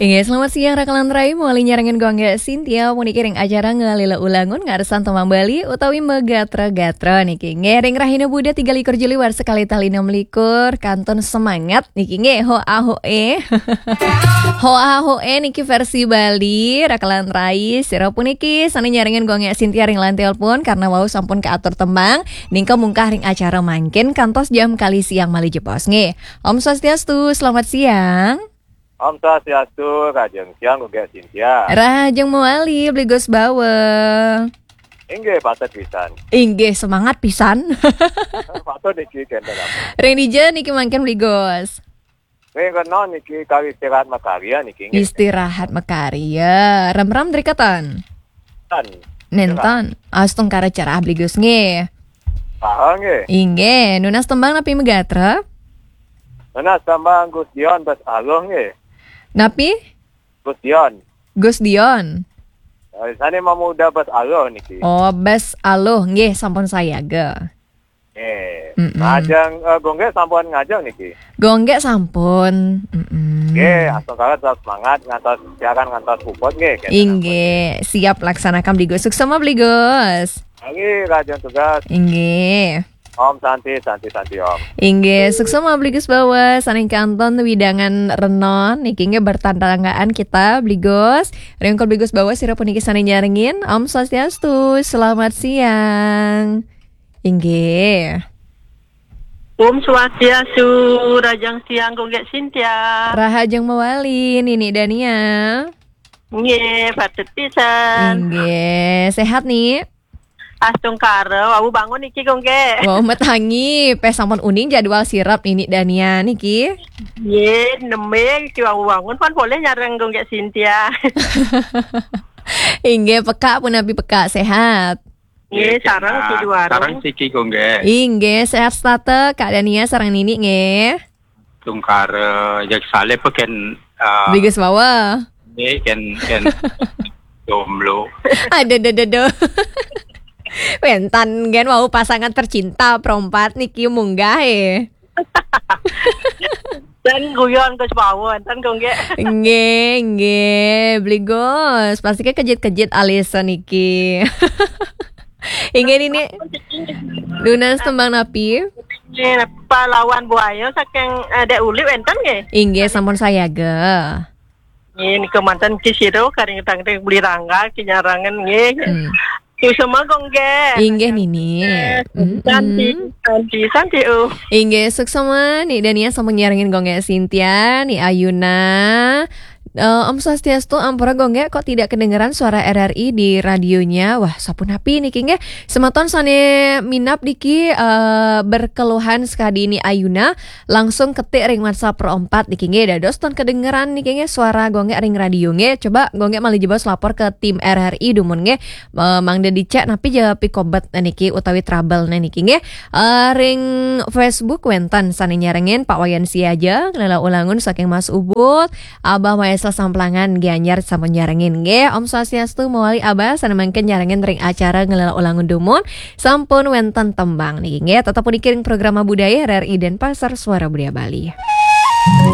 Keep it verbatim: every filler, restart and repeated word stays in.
Inggih, selamat siang Raka lan Rai, mawali nyarengin Gung Gek Sintia, puniki ring acara Ngalila Ulangun, ngarsang tembang Bali utawi Magatra-gatra niki. Inggih, ring rahina Buda tiga likur Juli warsa kalih tali enam likur, kantun semangat niki nggih, hoa hoe. Hoa hoe niki versi Bali, Raka lan Rai, sira puniki sane nyarengin Gung Gek Sintia ring line telepon karena wau sampun kaatur tembang, ningka mungkah ring acara mangkin kantos jam kalih siang malih jebos nggih. Om Swastiastu, selamat siang. Om Swastiastu, rahajeng siang Gung Gek Sintia. Rahajeng mawali, Bli Gus Bawa. Inggih, patut pisan. Inggih, semangat pisan. Patut niki kenten apa? Ring dija niki mangkin Bli Gus? Ring kena niki kari istirahat makarya niki nggih. Istirahat makarya. Ram-ram drikatan. Tan. Nenten. Astungkara cerah Bli Gus nggih. Ah, nggih. Inggih, nunas tembang napi magatra? Nunas tembang Gus Dion Bas Aluh nggih. Napi? Gus Dion. Gus Dion. Eh, sane mamuda Bas Aluh niki. Oh, Bas Aluh nggih sampun sayaga. Nggih. Mm-mm. Ngajeng, eh, Gung Gek sampun ngajeng niki. Gung Gek sampun. Mm-mm. Nggih, astungkara tetap semangat ngantos siaran ngantos puput nggih. Inggih, siap laksanakan Bli Gus. Suksma Bli Gus. Manggi rahajeng tugas. Inggih. Om Santi, Santi, Santi Om. Inggih, suksma Bli Gus Bawa, saning kantun widangan renon, niki nggih bertatanggaan kita, Bli Gus. Ring Ungkul Bli Gus Bawa, sira puniki sane nyarengin. Om Swastiastu, selamat siang. Inggih. Om Swastiastu, rahajeng siang Gung Gek Sintia. Rahajeng mawali, Nini Dania. Nggih, patut pisan. Inggih, sehat nih? Astungkara, wau bangun niki Gung Gek. Wau matangi, peh sampun uning jadwal sirep Nini Dania niki. Nggih, nembe niki wau bangun pun polih nyareng Gung Gek Sintia. Inggih, pekak punapi pekak, sehat? Nggih, sareng siki warung. Sareng siki Gung Gek. Inggih, sehat setata, Kak Dania sareng Nini nggih. Tungkara, jeg salib ken, ah, Bli Gus Bawa. Nggih, ken, ken jomblo. Aduh, aduh, aduh, aduh. Wenten gen wau pasangan tercinta perempat niki munggah eh. Dan guyon Gus Bawa, enten Gung Gek. Nggih, nggih, Bli Gus. Pasti kejit-kejit alisa niki. Inggih Nini. Nunas tembang napi? Nggih, pahlawan buaya saking, eh, Dek Uli wenten nggih. Inggih, sampun sayaga. Nggih, nika manten Ki Siro karing tangting Bli Rangga Ki Nyarangan nggih. Hmm. Suksma Gung Gek. Inggih Nini. Santi, mm-mm. Santi, Santi, uh. Inggih, suksma Ni Dania sampun nyarengin Gung Gek Sintia, Ni Ayuna. Eh, Om Swastiastu, ampura Gung Gek, kok tidak kedengeran suara R R I di radionya? Wah, sapunapi niki nggih. Semeton sane minab niki, eh, berkeluhan sekadi Ni Ayuna, langsung ketik ring WhatsApp Pro empat niki nggih. Dados ton kedengeran niki nggih suara Gung Gek ring radio nggih. Coba Gung Gek malih jebos lapor ke tim R R I dumun nggih. Eh, mangda dicek napi ja pikobet niki utawi trouble niki nggih. Eh, ring Facebook wenten sane nyarengin Pak Wayan Siaja, Ngelela Ulangun saking Mas Ubud, Abah Maesel Samplangan Gianyar sampun nyarengin nggih. Om Swastiastu mawali Abah sane mangkin nyarengin ring acara Ngelela Ulangun dumun sampun wenten tembang niki nggih. Tetep puniki ring programa budaya R R I Denpasar Suara Budaya Bali.